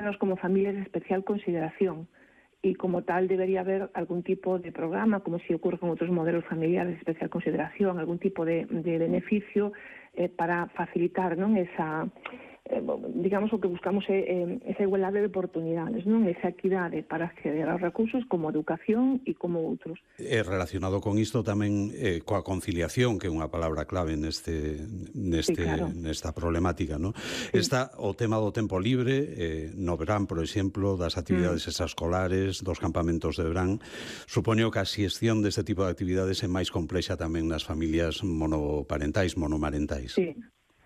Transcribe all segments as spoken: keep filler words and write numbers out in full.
vésenos como familias de especial consideración y como tal debería haber algún tipo de programa, como si ocurre con otros modelos familiares de especial consideración, algún tipo de, de beneficio eh, para facilitar, non, esa, eh, digamos, o que buscamos é eh, esa igualdade de oportunidades, non, esa equidade para acceder aos recursos como educación e como outros. E relacionado con isto tamén eh, coa conciliación, que é unha palabra clave neste, neste, Sí, claro. nesta problemática, non? Sí. Está o tema do tempo libre, eh, no verán, por exemplo, das actividades Mm. extraescolares, dos campamentos de verán. Supoño que a xestión deste tipo de actividades é máis complexa tamén nas familias monoparentais, monomarentais. Sí.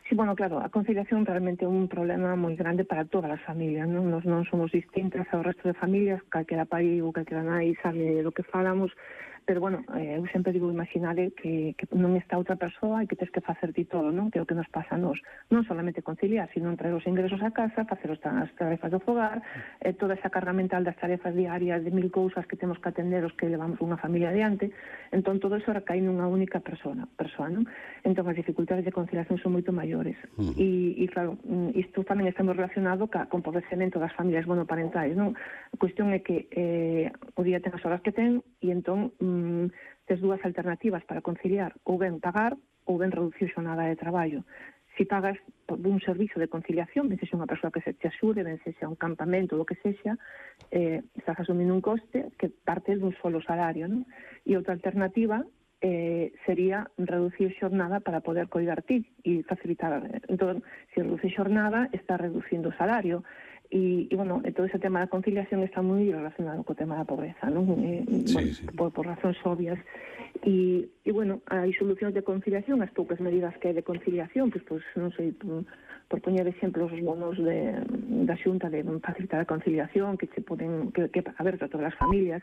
Sí, bueno, claro, a conciliación realmente é un problema moi grande para todas as familias, non? Nos non somos distintas ao resto de familias, calquera pai ou calquera nai sabe do que falamos, pero, bueno, eh, eu sempre digo, imaginade que, que non está outra persoa e que tens que facer ti todo, non? Que é o que nos pasa a nós. Non solamente conciliar, sino traer os ingresos a casa, facer as tarefas do fogar, eh, toda esa carga mental das tarefas diarias de mil cousas que temos que atender os que levamos unha familia adiante. Entón, todo eso recae nunha única persona, persoa, non? Entón, as dificultades de conciliación son moito maiores. Uh -huh. E, e, claro, isto tamén está moi relacionado ca, con empobrecemento das familias monoparentais, non? A cuestión é que eh, o día ten as horas que ten e entón mm, tes dúas alternativas para conciliar, ou ben pagar ou ben reducir xornada de traballo. Si pagas por un servizo de conciliación, ben sexa unha persoa que se te axude, ben sexa un campamento ou o que sexa, eh, estás asumindo un coste que parte dun solo salario, non? E outra alternativa eh, sería reducir xornada para poder coidar ti e facilitar. Entón, se reduce xornada, está reducindo o salario. E, e, bueno, todo ese tema da conciliación está moi relacionado co tema da pobreza, non? Eh, sí, bueno, sí. Por, por razóns obvias. E, e, bueno, hai solucións de conciliación, as poucas medidas que hai de conciliación, pois, pois non sei, por, por poñer exemplos, os bonos de, da xunta de facilitar a conciliación, que se poden, que, que a ver, para todas as familias,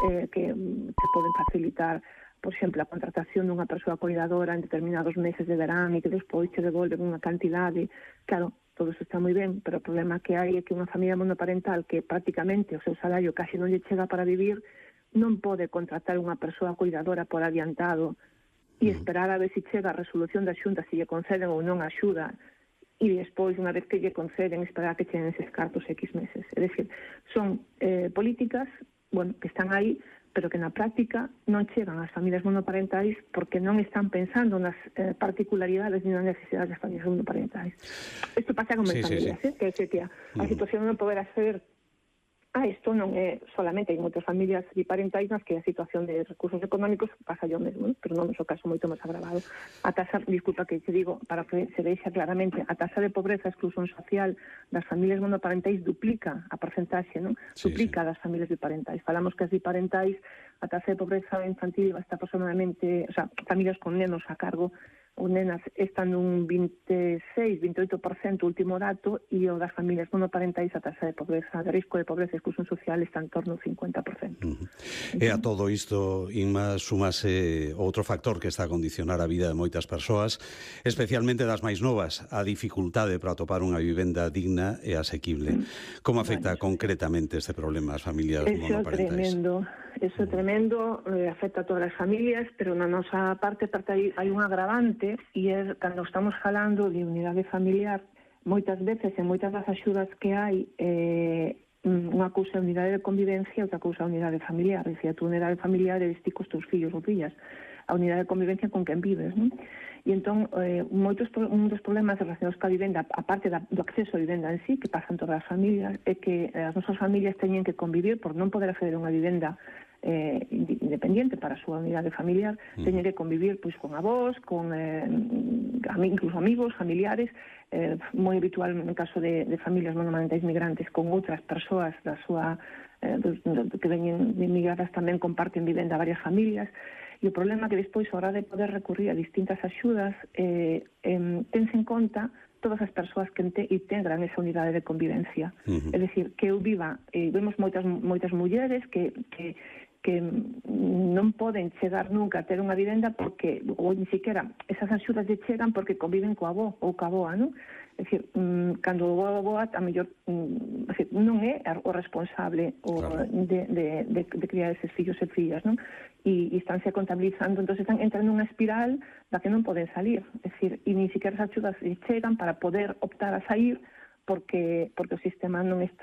eh, que se poden facilitar, por exemplo, a contratación dunha persoa cuidadora en determinados meses de verán e que despois te devolven unha cantidade. Claro, todo isto está moi ben, pero o problema que hai é que unha familia monoparental que prácticamente o seu salario casi non lle chega para vivir non pode contratar unha persoa cuidadora por adiantado e esperar a ver se chega a resolución da xunta se lle conceden ou non a axuda e despois, unha vez que lle conceden, esperar que cheguen eses cartos X meses. É dicir, son eh, políticas, bueno, que están aí, pero que na práctica non chegan ás familias monoparentais porque non están pensando nas eh, particularidades ni nas necesidades das familias monoparentais. Isto pasa con sí, familias, sí, sí. eh? que, que, que a, a situación non poderá ser ah, isto non é solamente, hai moitas familias biparentais nas que a situación de recursos económicos pasa yo mesmo, ¿no? Pero non é o caso moito máis agravado. A tasa, disculpa que te digo, para que se veixa claramente, a tasa de pobreza e exclusión social das familias monoparentais duplica a porcentaxe, non? Sí, Duplica sí. das familias biparentais. Falamos que as biparentais, a tasa de pobreza infantil está aproximadamente, o sea, familias con nenos a cargo, ou nenas están nun vinte e seis, vinte e oito por cento último dato e o das familias monoparentais a tasa de pobreza, de risco de pobreza e exclusión social está en torno ao cincuenta por cento. Uh -huh. E a todo isto, Inma, súmase outro factor que está a condicionar a vida de moitas persoas, especialmente das máis novas, a dificultade para atopar unha vivenda digna e asequible. Como afecta bueno, concretamente este problema ás familias eso monoparentais? Eso é tremendo, eso é tremendo, eh, afecta a todas as familias, pero na nosa parte, parte hai, hai un agravante e é cando estamos falando de unidade familiar, moitas veces e moitas das axudas que hai eh, unha cousa é unidade de convivencia e outra cousa é unidade familiar. Dicía, a tu unidade familiar é ti cos teus fillos ou fillas, a unidade de convivencia con quen vives, non? E entón, eh, moitos, un dos problemas relacionados ca vivenda, a parte da, do acceso a vivenda en sí, que pasan todas as familias, é que as nosas familias teñen que convivir por non poder acceder a unha vivenda eh, independiente para a súa unidade familiar, mm. teñen que convivir pois con avós, con eh, incluso amigos, familiares, eh, moi habitual no caso de, de familias monomarentais migrantes con outras persoas da súa eh, do, do, que veñen migradas tamén comparten vivenda a varias familias. E o problema é que despois, a hora de poder recurrir a distintas axudas, eh, eh, tense en conta todas as persoas que integran esa unidade de convivencia. Uh -huh. É dicir, que eu viva, eh, vemos moitas moitas mulleres que, que, que non poden chegar nunca a ter unha vivenda porque, ou ni siquiera, esas axudas lle chegan porque conviven coa avó ou coa avoa, non? É dicir, mmm, cando o avó a mellor mmm, non é o responsable o, claro. de, de, de, de criar eses fillos e fillas, non? E, e estánse contabilizando, entón están entrando nunha espiral da que non poden salir, é dicir, e ni siquiera as axudas lle chegan para poder optar a sair porque, porque o sistema non está